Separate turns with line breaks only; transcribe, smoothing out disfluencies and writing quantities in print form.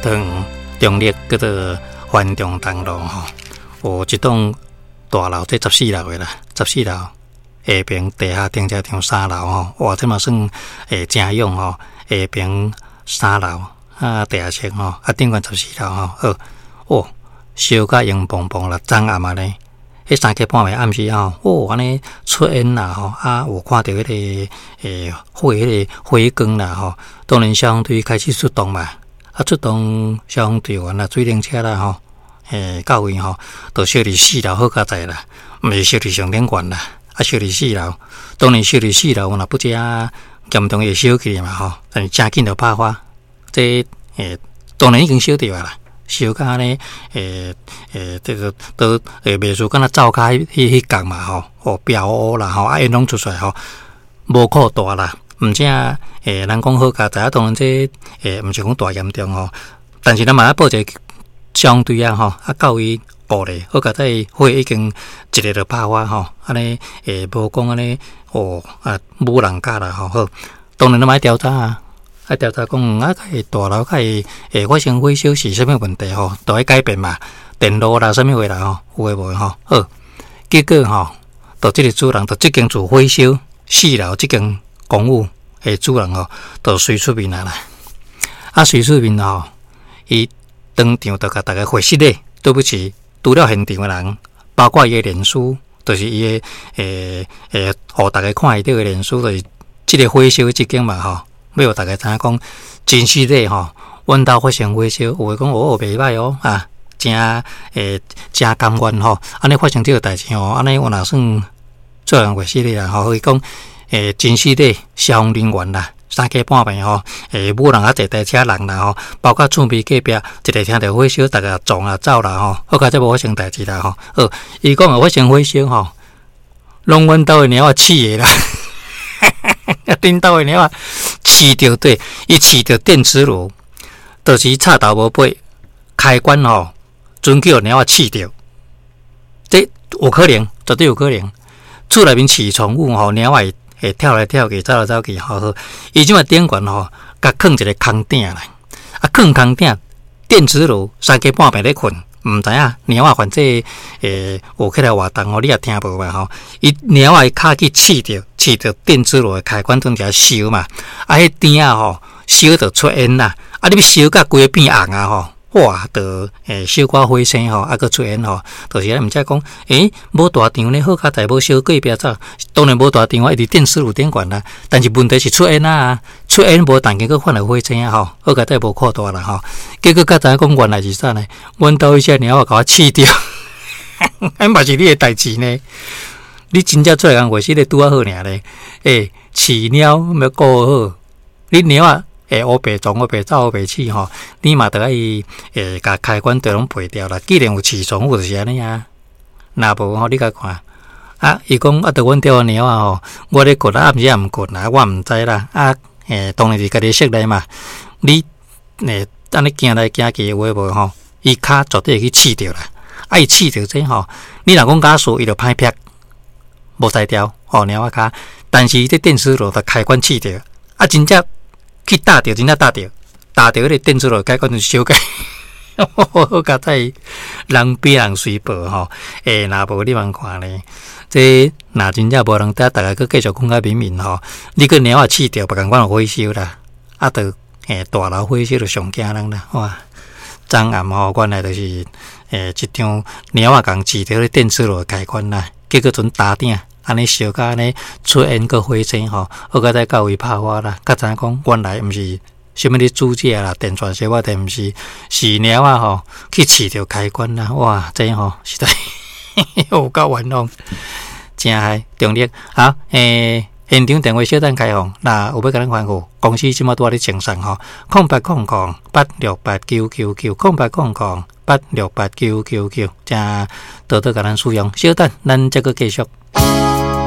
桃園中壢叫做環中東路吼，有一棟大樓，這十四樓的啦，十四樓下爿地下停車場三樓吼，哇，這嘛算誠勇吼，下爿三樓啊，地下室吼，啊頂懸十四樓吼，好，哦，燒甲黃磅磅啦，昨暗啊呢，彼三更半暝暗時吼，哦，按呢出煙啦吼，啊有看著彼个火彼个火光啦吼，當然消防隊開始出動嘛，啊出動消防隊員啦、水冷車啦吼，到位吼，就燒佇四樓好佳哉啦，毋是燒佇上頂懸啦，啊燒佇四樓，當然燒佇四樓若不遮嚴重會燒起嘛吼，但是誠緊就拍火，這當然已經燒著啊啦。燒甲按呢，這個都袂輸敢若灶跤彼彼角嘛吼，哦，飆烏啦吼，啊煙攏出來吼，無擴大啦，毋正人講好佳哉啊，當然這毋是講大嚴重吼，但是咱嘛愛報一個消防隊啊吼，啊到位顧咧，好佳哉火已經一下就拍火吼，按呢無講按呢哦啊無人家啦吼，好，當然咱嘛愛調查啊。啊，調查講啊，會大樓較會發生火燒是啥物問題吼，都愛改變嘛，電路啦，啥物貨啦吼，有的無的吼，好，結果吼，就這个主人，就這間厝火燒四樓這間公寓的主人吼，就隨出面來啦。啊，隨出面吼，伊當場就共大家回釋咧，對不起，除了現場的人，包括伊的臉書，就是伊的予大家看會著的臉書，就是這个火燒這間嘛吼。欲予大家知影講，真實的吼，阮兜發生火燒，有的講哦袂䆀哦啊，誠誠甘願吼，按呢發生這个代誌吼，按呢我若算做人話實的啦吼，伊講真實的消防人員啦，三更半暝吼，無人啊坐台車人啦吼，包括厝邊隔壁一个聽著火燒，逐个撞啊走啦吼，好佳哉無發生代誌啦吼。好，伊講發生火燒吼，攏阮兜的貓仔飼的啦。恁兜的貓仔飼著對，伊飼著電磁爐，就是插頭無拔，開關吼，準去予貓仔飼著，這有可能，絕對有可能。厝內面飼寵物吼，貓仔會跳來跳去，走來走去，好好。伊這馬頂懸吼，共囥一个空鼎啦，啊，囥空鼎，電磁爐三更半暝咧睏。毋知影貓仔反正有起來活動吼，你也聽無嘛吼？伊貓仔的跤去飼著，飼著電磁爐的開關陣佇遐燒嘛，啊，彼鼎仔吼燒著出煙啦，啊，你欲燒甲規个變紅啊吼！哇，就燒掛火星吼，啊閣出煙吼，就是毋才講，無大場呢，好佳哉無燒隔壁走，當然無大場啊，伊佇電磁爐頂懸啦，但是問題是出煙啊，出煙無動靜閣反而火星啊吼，好佳哉無擴大啦吼，結果才知影講原來是啥呢？阮兜彼隻貓仔共我飼著，彼嘛是你的代誌呢？你真正出來共話是咧拄仔好爾咧，飼貓欲顧好，你貓仔會烏白撞、烏白走、烏白飼吼，你嘛著愛共開關都攏拔掉啦。既然有飼寵物就是按呢啊，若無吼，你共看啊，伊講啊，著阮兜的貓仔吼，我咧睏啊，暗時也毋睏啦，我毋知啦。啊，當然是家己室內嘛，你按呢行來行去有的無吼，伊跤絕對會去飼著啦。啊，伊飼著這吼，你若講假使伊就歹劈，無才調吼貓仔跤，但是這電磁爐的開關飼著，啊，真正。去踏著，真正踏著，踏著彼个電磁爐開關就燒起，好佳哉人比人隨報吼，若無你通看咧，這若真正無人佇，逐个閣繼續睏較眠眠吼，你閣貓仔飼著，無仝款有火燒啦，啊，就大樓火燒就上驚人啦，哇！昨暗吼，原來就是一場貓仔共飼著彼電磁爐的開關啦，結果陣焦鼎。按呢燒甲按呢出煙閣火星吼，好佳哉到位拍火啦，才知影講原來毋是啥物咧煮食啦，電掣燒啊，電毋是是貓仔吼去飼著開關啦，哇，這吼實在有夠冤枉，誠害中壢好，現場電話小等開放，若有欲共咱吩咐，公司這馬拄仔咧清算吼，0800868999，0800868999，請多多共咱使用，小等，咱再閣繼續。